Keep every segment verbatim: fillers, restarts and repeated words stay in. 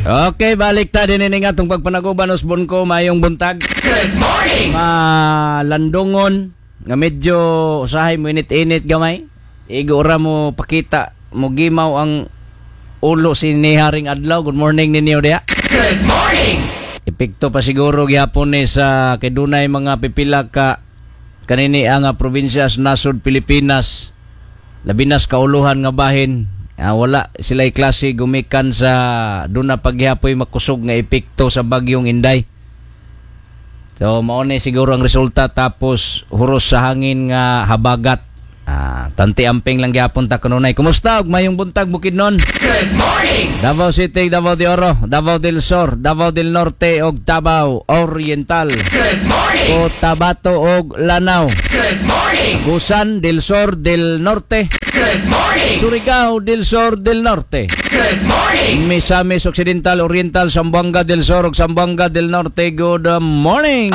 Okay, balik ta din ini nga atong pagpanaguban, usbon ko mayong buntag. Good morning. Malandungon nga medyo usahay mo init-init gamay. Igo ra mo pakita mo gimaw ang ulo si ni Haring Adlaw. Good morning ninyo diha. Good morning. Epekto pa siguro gihapon ni sa kay dunay mga pipila ka kanini ang nga probinsya sa nasod Pilipinas, labi na sa kauluhan nga bahin. Ah, wala sila klase gumikan sa duna paghiapoy makusog nga epekto sa bagyong Inday. So mao ni siguro ang resulta, tapos huros sa hangin nga habagat. Ah, tanti amping lang gihapon ta kanunay. Kumusta ug mayong buntag, Bukidnon? Good morning. Davao City, Davao de Oro, Davao del Sur, Davao del Norte ug Davao Oriental. Good morning. Cotabato ug Lanao. Good morning. Agusan del Sur del Norte. Good morning. Surigao del Sur del Norte. Good morning. Misamis Occidental, Oriental, Zamboanga del Sur ug Zamboanga del Norte. Good morning.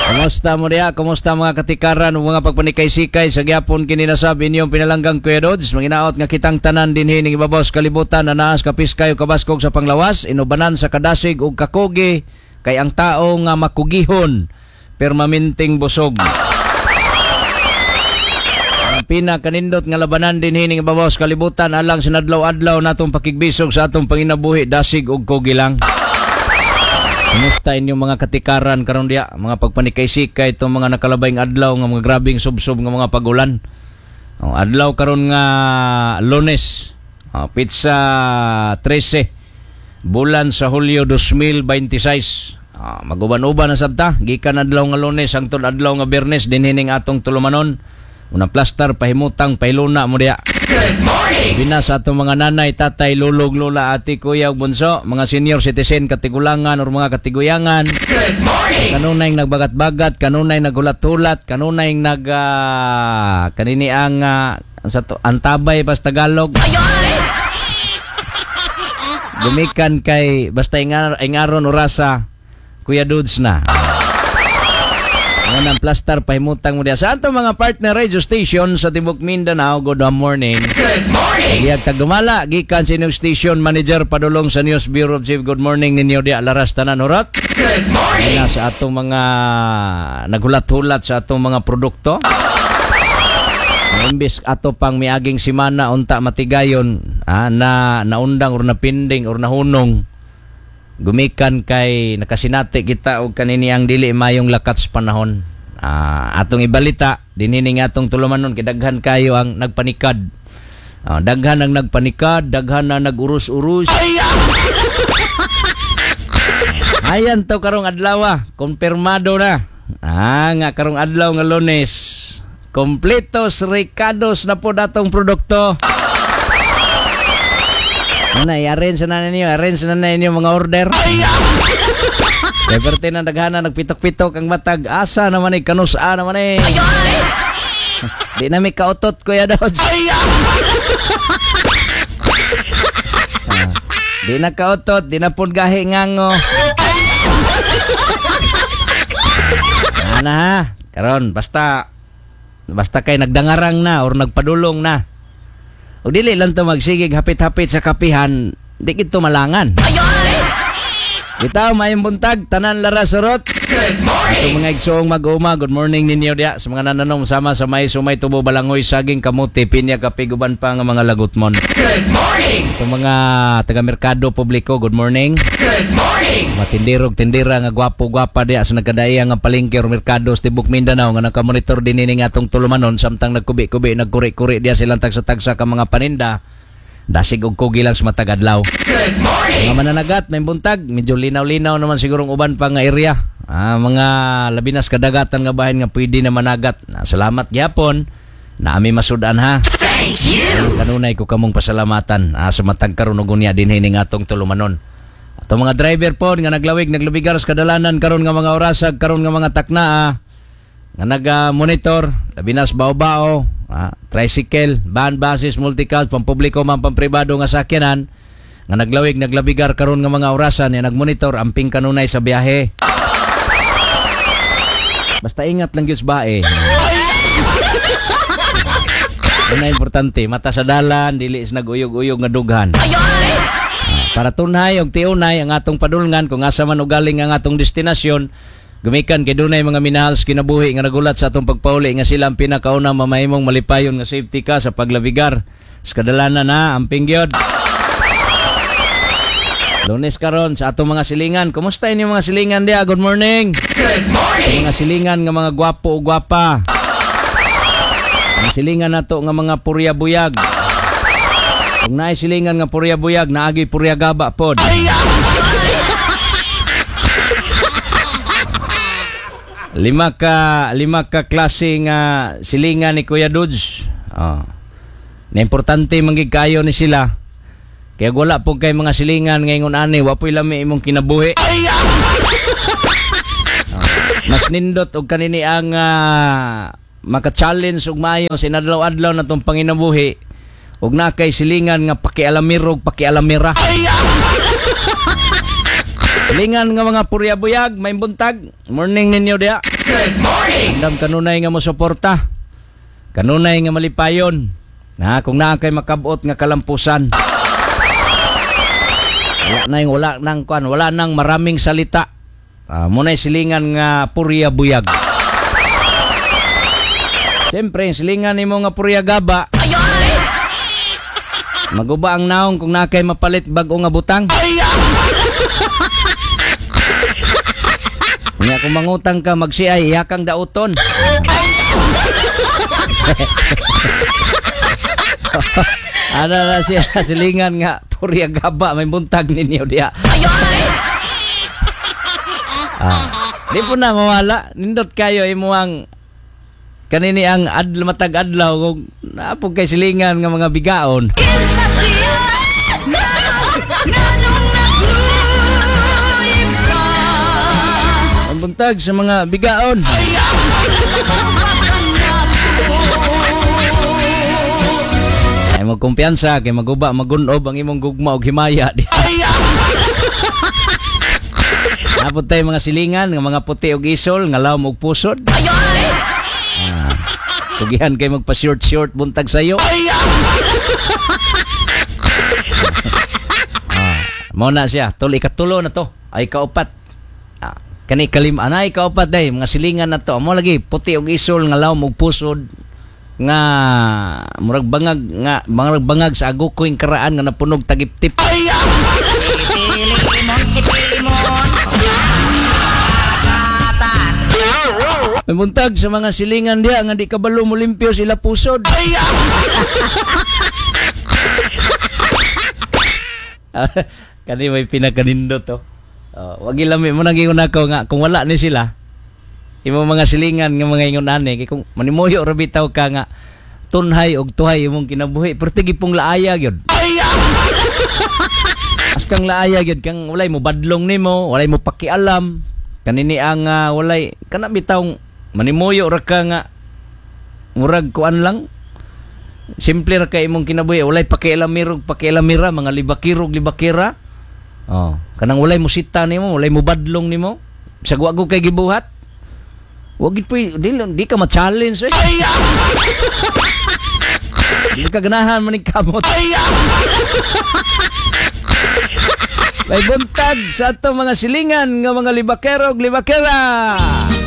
Kumusta mo diha? Kumusta mga katikaran ug mga pagpanikay-sikay sa gyapon kini nasab inyong pinalanggang Kuya Dodds? Manginaot nga kitang tanan dinhi ning ibabaw sa kalibutan na naas kapiskay ug kabaskog sa panglawas, inubanan sa kadasig ug kakugi, kay ang tao nga makugihon permanenteng busog. Ang pinakanindot nga labanan dinhi ning ibabaw sa kalibutan alang sa adlaw-adlaw natong pakigbisog sa atong panginabuhi, dasig ug kugi lang. Kumusta inyong mga katikaran karon diya, mga pagpanikay-sikay itong mga nakalabayng adlaw nga mga grabing subsob nga mga pagulan? Oh, adlaw karon nga Lunes, oh, petsa trese bulan sa Hulyo dalawang libo bente sais. Ah, maguban-uban na sabta gikan adlaw nga Lunes hangtod adlaw nga Biyernes dinhi ning atong tulumanon. Unang plastar, pahimutang, pahiluna mo diya. Good morning. Bina sa atong mga nanay, tatay, lulog, lola, ate, kuya, ug bunso, mga senior citizen, katigulangan or mga katiguyangan. Good morning. Kanunay nagbagat-bagat, kanunay naghulat-hulat, kanunay nag ah, kanini ang ah, sa to, antabay pas Tagalog. Gumikan kay basta ingar, ingaron orasa Kuya Dudes na. Unang plastar, pahimutang mo diya. Sa atong mga partner radio station sa Tibok Mindanao, good morning. Good morning. Giyag tagdumala, gikan sa inyong station manager padulong sa News Bureau Chief. Good morning ninyo diya, laras tanan hurot. Good morning. Na sa atong mga naghulat-hulat sa atong mga produkto. Imbis ato pang miaging simana unta matigayon, ah, na naundang or napinding or nahunong gumikan kay nakasinati kita og kanini ang dili mayong lakat sa panahon. Ah, atong ibalita dinhi ning atong tulumanon kay daghan kayo ang nagpanikad. Ah, daghan ang nagpanikad, daghan na nag-urus-urus. Ayan to karong adlaw, kumpirmado na. Ah, nga karong adlaw nga Lunes. Kompletos rekados na po datong produkto. Ano, i-arrange na ninyo, arrange na ninyo mga order. Kaya perte na daghana nagpitok-pitok ang matag asa naman eh, kanusa naman eh. Di na may kautot, Kuya Dodge. Ah, di na kautot, di na pud gahi ngango. Ana ha, karon basta basta kay nagdangarang na or nagpadulong na. O dili lang to magsigig hapit-hapit sa kapihan, di kito malangan. Bitaw, mayong buntag, tanan lara surot. Good morning. Ato mga igsoong mag-uma, good morning ninyo diya sa mga nananom sama sa may sumay, tubo, balangoy, saging, kamuti, pinya, kape, guban pa nga mga lagutmon. Good morning. Ato mga taga-merkado publiko, good morning. Good morning. Matindirog tindira nga gwapo-gwapa diya sa nagkadaiya nga palengke or merkado sa Tibok Mindanao nga nakamonitor din ini nga atong tulumanon samtang nagkubi-kubi, nagkuri-kuri diya silang tagsa-tagsa ka mga paninda. Dasig og kugi lang sa matag adlaw. Good morning. Mga mananagat, may buntag, medyo linaw-linaw naman sigurong uban pa nga area. Ah, mga labinas kadagatan nga bahin nga pwede na managat. Ah, salamat gyapon. Naami masudan ha. Thank you. Kanunay ko kamong pasalamatan ah, sa matag karon og unya dinhi ning atong tulumanon. Ato mga driver po nga naglawig naglubigar sa kadalanan karon nga mga orasag karon nga mga takna ah, nga naga-monitor labi na sa bao-bao, ah, tricycle, van, buses, multicab, pampubliko man pampribado nga sakyanan nga naglawig naglabigar karon nga mga orasan nga nagmonitor, amping kanunay sa biyahe. Basta ingat lang gyud sa bae. Ano na importante, mata sa dalan, dili is naguyog-uyog nga dughan. Para tunhay og tiunay ang atong padulngan kung asa man ugaling ang atong destinasyon, gumikan kay dunay mga minahal sa kinabuhi nga nagulat sa atong pagpauli nga sila ang pinakauna mamahimong malipayon nga safety ka sa paglabigar sa kadalanan na amping gyud. Lunes karon sa atong mga silingan. Kumusta inyong mga silingan diya? Good morning. Good morning. Mga silingan nga mga gwapo o gwapa. Mga silingan nato nga mga purya buyag. Kung naay silingan nga purya buyag, naagi purya gaba pod. Lima ka lima ka klase nga silingan ni Kuya Dudes. Oh. Na importante man gid kayo ni sila. Kaya wala po kay mga silingan ngayon ani, wa po'y lami imong kinabuhi. Oh. Mas nindot og kanini ang uh, maka-challenge og maayo sa inadlaw-adlaw na tong panginabuhi og na kay silingan nga pakialamirog pakialamira. Silingan nga mga purya buyag, may buntag. Morning ninyo diya. Good morning. Andam kanunay nga mosuporta. Kanunay nga malipayon. Na kung naa kay makabot nga kalampusan. Wala na yung wala nang kwan, wala nang maraming salita. Uh, muna'y silingan nga purya buyag. Siyempre, silingan nimo nga purya gaba. Maguba ang naong kung naa kay mapalit bag-o nga butang. Nga kung mangutang ka magsiay, iyakang dauton. Ano na siya, silingan nga purya gaba, may buntag ninyo diya. Ah, di po na mawala, nindot kayo imuang kanini ang adl matag adlaw kung naapog kay silingan nga mga bigaon. Ang buntag sa mga bigaon. Ay magkumpiyansa kay maguba magunob ang imong gugma og himaya. Napod tayo mga silingan nga mga puti og isol nga lawom og pusod. Ah, kugihan kay magpa short short buntag sayo. Ah, mao na siya, tol ikatulo na to, ay kaupat. Ah, kani kalim anay kaupat day mga silingan na to. Mo lagi puti og isol nga lawom og pusod nga murag bangag nga murag bangag sa agukoy karaan nga napunog tagiptip. May buntag sa mga silingan diha nga di kabalo mo limpyo sila pusod. Kani may pinakanindot to. Uh, wag ilami mo nang ingon ako nga kung wala ni sila imo mga silingan nga mga ingon ani kay kung manimuyo ra bitaw ka nga tunhay og tuhay imong kinabuhi pero tigi pong laaya gyud. As kang laaya gyud kang walay mo badlong nimo, walay mo pakialam kanini ang uh, walay kana bitaw manimuyo ra ka nga murag kuan lang simple ra kay imong kinabuhi, walay pakialamirog pakialamira mga libakirog libakira. Oh, kanang walay mo sita nimo, walay mo badlong nimo, bisag wa ko kay gibuhat. Wag gid poy di, di ka ma-challenge eh. Di ka ganahan man kamot. May buntag sa atong mga silingan nga mga libakero ug libakera.